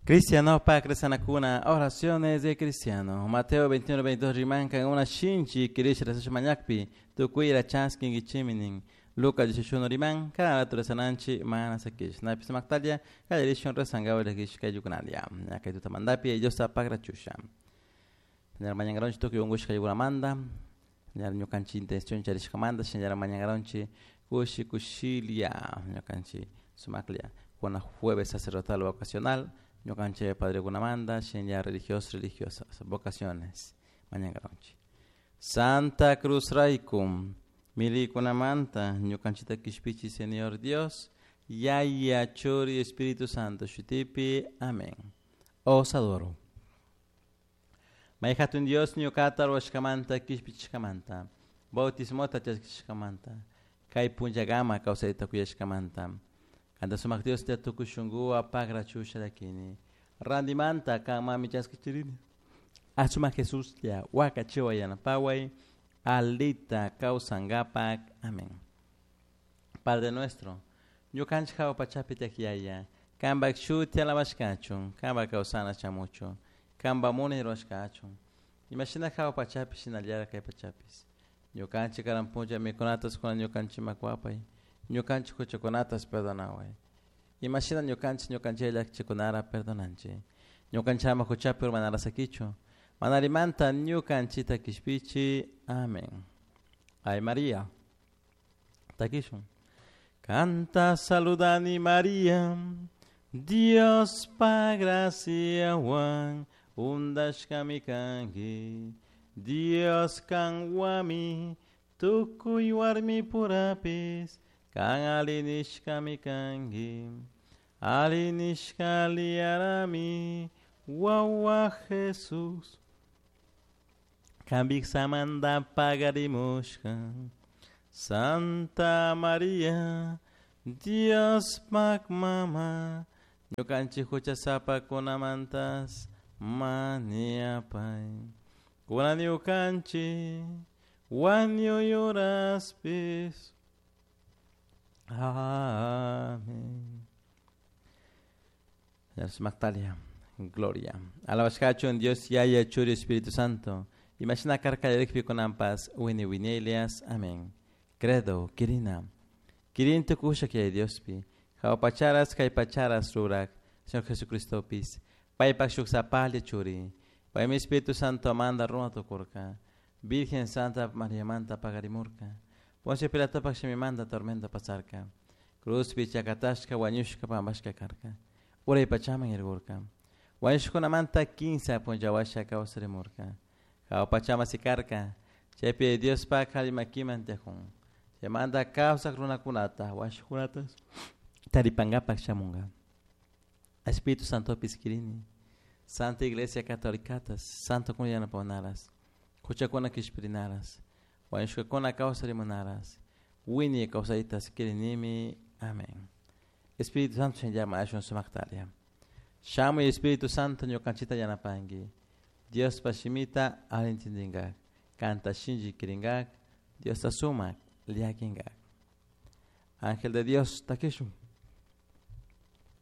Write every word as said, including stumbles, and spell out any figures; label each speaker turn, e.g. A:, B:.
A: Cristiano pa oraciones de cristiano. Mateo veintiuno veintidós rimanka una shinchi kirish rasash mañakpi tukuyra chaskin gichiminin. Lucas dieciocho riman kana resananchi mana sakish. Napis maktalia kallarishun resangawa lakish kayukunalia. Kaytuta mandapi Dios pagrachusha. Señor mañangaronchi tukuy ungushka yuguramanda. Señor ñukanchi intención charishkamanda. Señor mañangaronchi kushi kushilia ñukanchi sumaklia. Kuna jueves sacerdotal vocacional. Ñukanchi padre kunamanda, señor religiosos religiosas, vocaciones, mañangaronchi. Santa Cruz Raikum, milikunamanta, ñukanchita kishpichi Señor Dios, Yaya, Churi, Espíritu Santo, Shutipi, amén. Os adoro. Maijatun Dios ñukata ruwashkamanta kishpichishkamanta, bautismota chaskishkamanta, kay punllagama kawsayta kuyashkamanta. Kanta sumak Dios te tukushungu apagra chusha lakini. Randimanta kama chaskichirini. Asuma Jesús ya wakachiwa yanapaway alita kawsangapak. Amén. Padre nuestro, ñukanchik hawa pachapi tiak kanpak shuti alabashkachun, kanpak kawsana chamuchun, kanpak munay ruwashkachun. Imashina hawa pachapi shinallara kay pachapis. Ñukanchik karan punlla mikunatas kuna ñukanchikman wapay. Ñukanchik huchakunatas perdonaway. Imashina ñukanchik ñukanchik llakichikunara perdonanchik. Ñukanchama huchapi urmanara sakichu. Manarimanta ñukanchita kishpichi. Amén. Ay María. Takishun. Canta saludani María. Dios pa gracia wan undashkami kanki. Dios kanwami tukuy warmi purapis. Kan alinishkami kanki. Alinishka liarami wawa Jesús. Kambik samanda pagarimushka. Santa María, Dios pak mama, ñukanchik huchasapa kunamantas maniapay. Kuna ñukanchik wañuyuraspis. Amén. Magdalia, gloria. Alabashkachun Dios Yaya Churi Espíritu Santo. Imagina karka yarikpi kunampas wini winelias. Amén. Credo, kirina. Kirin tukusha kay Diospi. Hawa pacharas kay pacharas rurak. Señor Jesucristo pis. Paypak shuksapali churi. Paymi Espíritu Santo manda runa tukurka. Virgen Santa María manta pagarimurka. Poncio Pilato pak manda tormenta pasarka. Cruz pichakatashka wañushka pambashka karka. Uray pachaman irgurka. Wañushkunamanta quince punllawasha kawsarimurka. Hawa pachama sikarka. Chaypi Dios pak halimakiman tiajun. Chaymanta kawsak runakunata washkunatas taripangapak shamunga. Espíritu Santo piskirini. Santa Iglesia Católicatas, Santo kun yanapawanaras. Huchakuna kishpirinaras. Wañushkakuna kawsarimunaras. Wini kawsaytas kirinimi. Amén. Espíritu Santo llama ashun sumaktalia. Shamuy Espíritu Santo ñukanchita yanapanki. Dios pashimita alintindingak. Kanta shinji kiringak. Dios sumak liakingak. Ángel de Dios takishun.